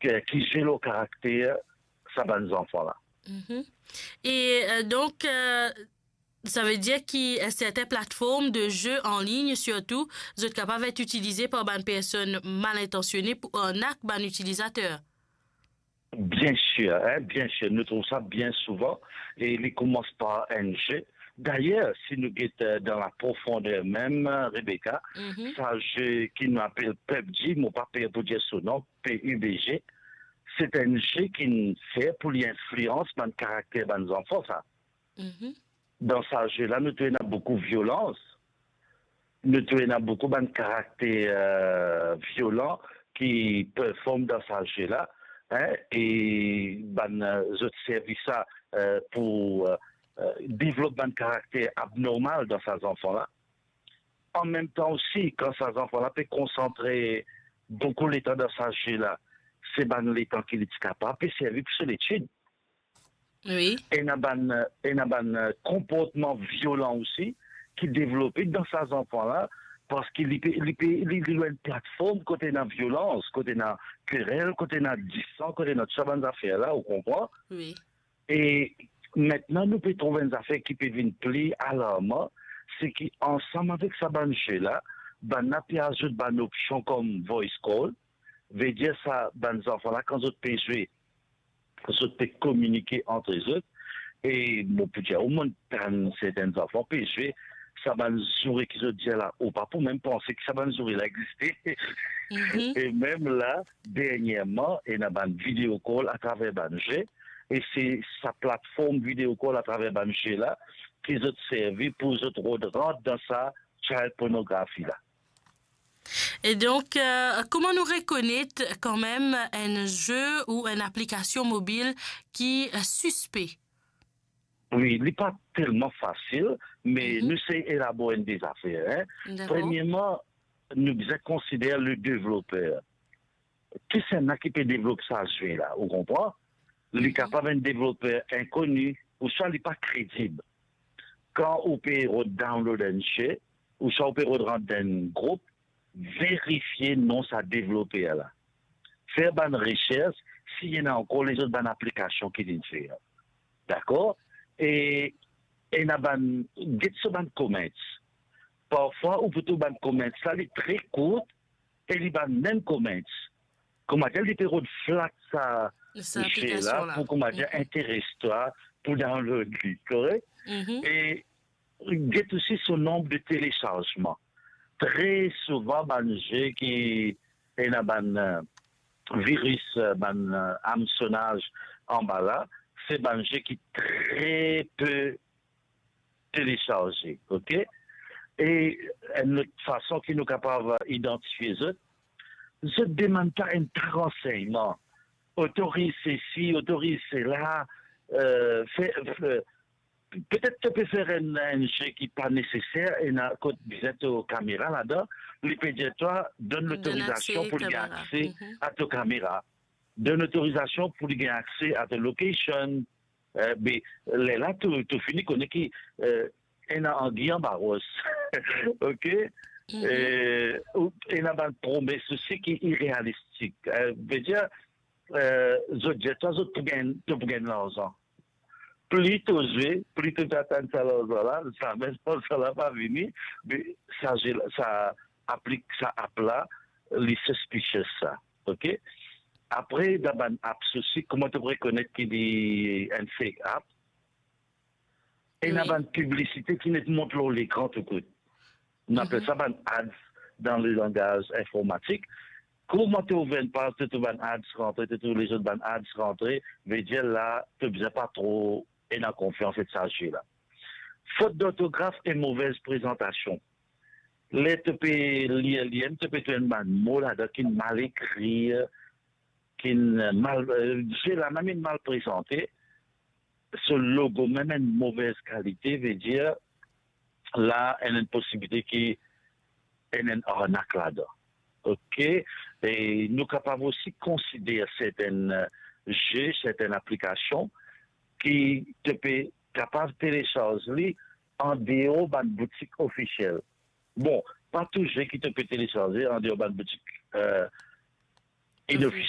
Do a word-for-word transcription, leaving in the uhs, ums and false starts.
ki, ki zwe lor karakter sa bann zanfan la. Mhm. E, euh, donk, euh, savedir ki, euh, sertin platform de ze an lign, sirtou, zot kapav et itilize par bann personn mal intansione pou arnak bann itilizater. Bien sir, hein, bien sir. Nou trouv sa bien souvan e li koumans par enn ze. Dayer, si nou get, euh, dan laprofonder mem, Rebecca, Mhm. sa ze ki nou apel pubg, mo pa per pou dir so nom, P U B G, se enn ze ki'nn fer pou li inflians bann karakter bann zanfan, sa. Mhm. Dan sa ze la, nou trouv ena boukou violans. Nou trouv ena boukou bann karakter, euh, violan ki perform dan sa ze la, hein, e bann, euh, zot servi sa, euh, pou, euh, euh, devlop bann karakter abnormal dan sa zanfan la. An mem tan osi, kan sa zanfan la pe konsantre boukou letan dan sa ze la, se bann letan ki li ti kapav pe servi pou so letid. Wi. Ena bann, ena bann, euh, konportman violan osi ki devlope dan sa zanfan la, parski li pe, li pe, li, li lor enn platform kot ena violans, kot ena kerel, kot ena disan, kot ena tou sa bann zafer la, ou konpran? Wi. E aster nou pe trouv enn zafer ki pe vinn pli alarman, se ki ansam avek sa bann ze la, bann la pe azout bann opsion kom voice call, vedir sa bann zanfan la, kan zot pe zwe, zot pe kominike ant zot. E mo pou dir, ou, mo tann sertin zanfan pe zwe, sa bann zoure ki zot dir la, ou pa pou mem panse ki sa bann zoure la existe. Mhm. E mem la, dernierman, ena bann video call atraver bann ze, e se sa platform video call atraver bann ze la ki zot servi pou zot rod rant dan sa child pornography la. E donk, euh, kouma nou rekonet kanmem enn ze ou enn aplikasion mobil ki, euh, sispe? Wi, li pa telman fasil, me Mhm. nou sey elabor enn de zafer, hein. Dakor. Premierman, nou bizin konsider le devloper. Kisannla ki pe devlop sa ze la, ou konpran? Li Mhm. kapav enn devloper inkoni, ouswa li pa kredib. Kan ou pe rod download enn ze, ouswa ou pe rod rant dan enn group, verifie non sa devloper la. Fer bann resers si ena ankor lezot bann aplikasion ki linn fer. Dakor? E ena bann, get so bann comments. Parfwa ou pou trouv bann comments la, li tre kourt e li bann mem comments. Koumadir li pe rod flat sa Sa ze la, aplikasion la. pou koumadir Mhm. interes twa pou download li, korek? Mhm. E get osi so nonb de telesargman. Tre souvan bann ze ki ena bann, euh, viris, euh, bann, euh, amsonaz anba la, se bann ze ki tre pe telesarze, ok? E enn lot fason ki nou kapav idantifie zot, zot demann twa enn ta ransegnman, otoriz sesi, otoriz sela, euh, fer, fer, petet to pe fer enn, enn ze ki pa neseser, ena kot bizin to kamera ladan, li pe dir twa, donn Donn lotorizasion akse pou li gagn kamera. akse Mhm. a to kamera. Donn lotorizasion pou li gagn akse a to location. Eh, be, lerla to, to fini kone ki, eh, ena angi anba ros. Ok? Mhm. Eh, ou, ena bann promes osi ki irealistik. Eh, vedir, eh, zot dir twa, zot pou gagn, to pou gagn larzan. Pli to zwe, pli to pe atann sa larzan la, zame sa larzan la pa vini, be sa ze la, sa aplik, sa app la, li suspicious sa. Ok? Apre, dan bann apps osi, kouma to pou rekonet ki li enn fake app? Ena Wi. bann piblisite ki net mont lor lekran tou kout. Nou apel Mhm. sa bann ads dan le langaz informatik. Kouma to ouver enn paz, to trouv bann ads rantre, to trouv lezot bann ads rantre, vedir la, to bizin pa tro ena konfians ek sa ze la. Fot dortograf e movez prezantasion. Ler to pe lir li, to pe trouv enn bann mo ladan ki mal ekrir, ki mal, eh, ze la mem inn mal prezante, so logo mem enn movez kalite, vedir la, ena enn posibilite ki ena enn arnak ladan. Ok? E nou kapav osi konsider sertin, eh, ze, sertin aplikasion ki to pe kapav telesarz li andeor bann boutik ofisiel. Bon, pa tou ze ki to pe telesarze andeor bann boutik, eh, inofisiel.